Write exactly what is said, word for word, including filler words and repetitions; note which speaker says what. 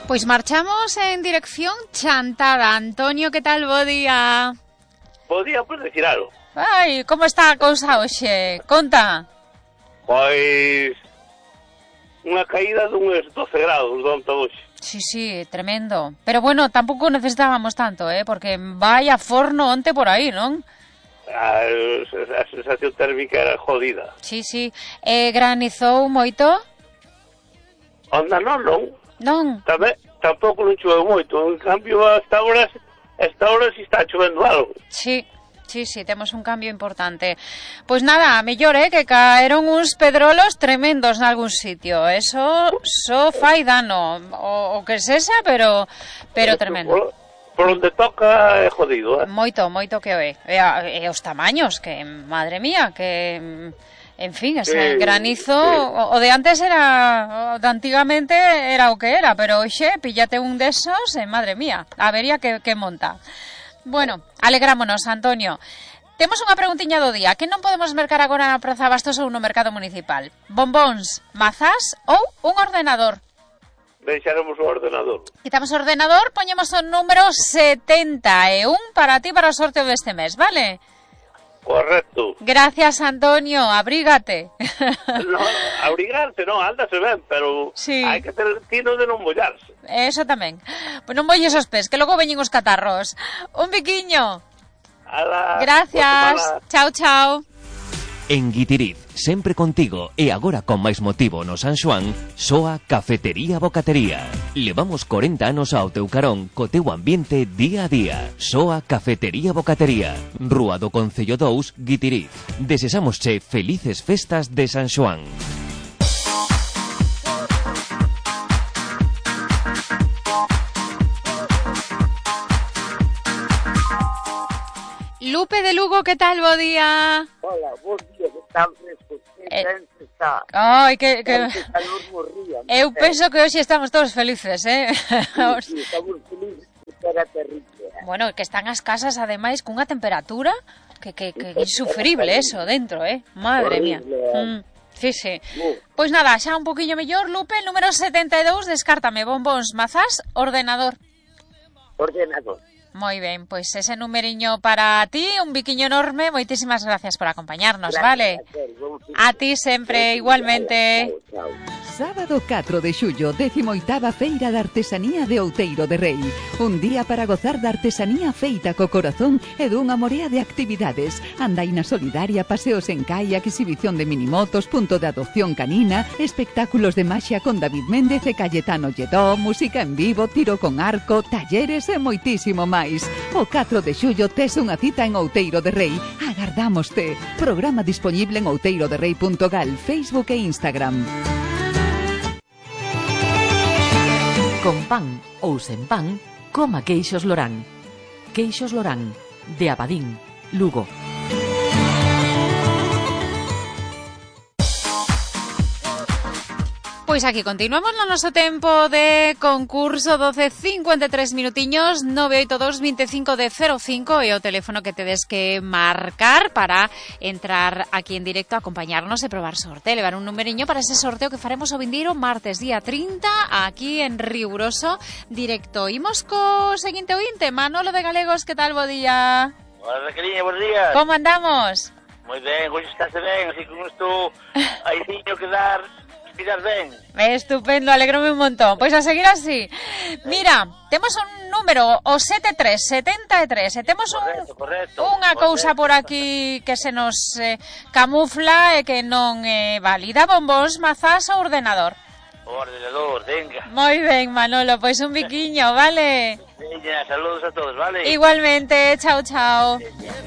Speaker 1: Pois marchamos en dirección Chantada. Antonio, que tal, bo día?
Speaker 2: Bo día, por decir algo.
Speaker 1: Ai, como está a cousa hoxe? Conta.
Speaker 2: Pois unha caída duns doce grados de onte hoxe.
Speaker 1: Sí, sí, tremendo. Pero bueno, tampouco necesitábamos tanto, eh, porque vai a forno onte por aí, non?
Speaker 2: A, a sensación térmica era jodida.
Speaker 1: Sí, sí. Eh, granizou moito?
Speaker 2: Onda non, non.
Speaker 1: Non.
Speaker 2: Tamén, tampouco non choveu moito. En cambio, hasta ahora, hasta ahora si está chovendo algo.
Speaker 1: Sí, sí, sí, temos un cambio importante. Pois nada, mellor, eh, que caeron uns pedrolos tremendos nalgún sitio. Eso só fai dano. O, o que sexa, pero pero tremendo.
Speaker 2: Por, por onde toca é jodido, eh?
Speaker 1: Moito, moito que o é. E, e os tamaños, que, madre mía, que... En fin, ese sí, granizo, sí. o, o de antes era, o de antigamente era o que era, pero hoxe píllate un desos e madre mía, habería que, que monta. Bueno, alegrámonos, Antonio. Temos unha preguntiña do día. Que non podemos mercar agora na Praza Bastos ou no mercado municipal? Bombóns, mazás ou un ordenador?
Speaker 2: Deixaremos o ordenador.
Speaker 1: Quitamos o ordenador, poñemos o número setenta e un para ti para o sorteo deste mes, vale?
Speaker 2: Correcto.
Speaker 1: Gracias, Antonio, abrígate.
Speaker 2: No, abrigarse non, ándase ben, pero
Speaker 1: sí.
Speaker 2: Hai que ter tino de non mollarse.
Speaker 1: Eso tamén. Pois non molles os pés, que logo veñen os catarros. Un biquiño.
Speaker 2: Ala,
Speaker 1: gracias. Chao, chao.
Speaker 3: En Guitiriz, sempre contigo e agora con máis motivo no San Xoán, soa Cafetería Bocatería. Levamos corenta anos ao teu carón co teu ambiente día a día. Soa Cafetería Bocatería, Rúa do Concello dous, Guitiriz. Desesámosche felices festas de San Xoán.
Speaker 1: Lupe de Lugo, que tal, bo día?
Speaker 4: Hola, bo día, que tal fresco, que
Speaker 1: eh,
Speaker 4: está.
Speaker 1: Ai, que... que...
Speaker 4: Morría,
Speaker 1: eu penso que hoxe estamos todos felices, eh?
Speaker 4: Sí, sí, estamos felices, que era terrible.
Speaker 1: Bueno, que están as casas, ademais, cunha temperatura que, que, que insufrible eso dentro, eh? Madre mía. Mm. Sí, sí. Pois nada, xa un poquillo mellor, Lupe, número setenta e dous, descártame bombóns, mazás, ordenador.
Speaker 4: Ordenador.
Speaker 1: Moi ben, pois ese numeriño para ti, un biquiño enorme, moitísimas gracias por acompañarnos,
Speaker 4: gracias,
Speaker 1: vale?
Speaker 4: A,
Speaker 1: a ti sempre, igualmente.
Speaker 4: Chao, chao.
Speaker 5: Sábado catro de xullo, décimo oitava Feira de Artesanía de Outeiro de Rei. Un día para gozar da artesanía feita co corazón e dunha morea de actividades. Andaina solidaria, paseos en kayak, exhibición de minimotos, punto de adopción canina, espectáculos de maxia con David Méndez e Cayetano Lledó, música en vivo, tiro con arco, talleres e moitísimo máis. O catro de xullo tes unha cita en Outeiro de Rei. Agardámoste. Programa disponible en outeiro de rei punto gal, Facebook e Instagram.
Speaker 6: Con pan ou sen pan, coma queixos Lorán. Queixos Lorán, de Abadín, Lugo.
Speaker 1: Pois aquí continuamos no noso tempo de concurso. Doce cincuenta e tres minutiños, nove oito dos veinticinco de cero cinco e o teléfono que tedes que marcar para entrar aquí en directo a acompañarnos e probar sorte, levar un numeriño para ese sorteo que faremos o vindeiro martes día trinta aquí en Riguroso directo. Imos co seguinte ointe, Manolo de Galegos, que tal, bo día?
Speaker 2: Hola, Raqueliña, buenos días.
Speaker 1: Como andamos?
Speaker 2: Moi ben, hoxe estáse ben, así como estou aí tiño que dar... Miras ben.
Speaker 1: Estupendo, alegrome un montón. Pois a seguir así. Mira, temos un número, o setenta e tres setenta e tres, e temos un,
Speaker 2: correcto, correcto,
Speaker 1: unha
Speaker 2: correcto.
Speaker 1: cousa por aquí que se nos eh, camufla e que non é eh, válida. Bombóns, mazás ou ordenador?
Speaker 2: O ordenador, venga.
Speaker 1: Moi ben, Manolo, pois un biquiño, vale?
Speaker 2: Venga, saludos a todos, vale?
Speaker 1: Igualmente, chao, chao.
Speaker 2: Venga.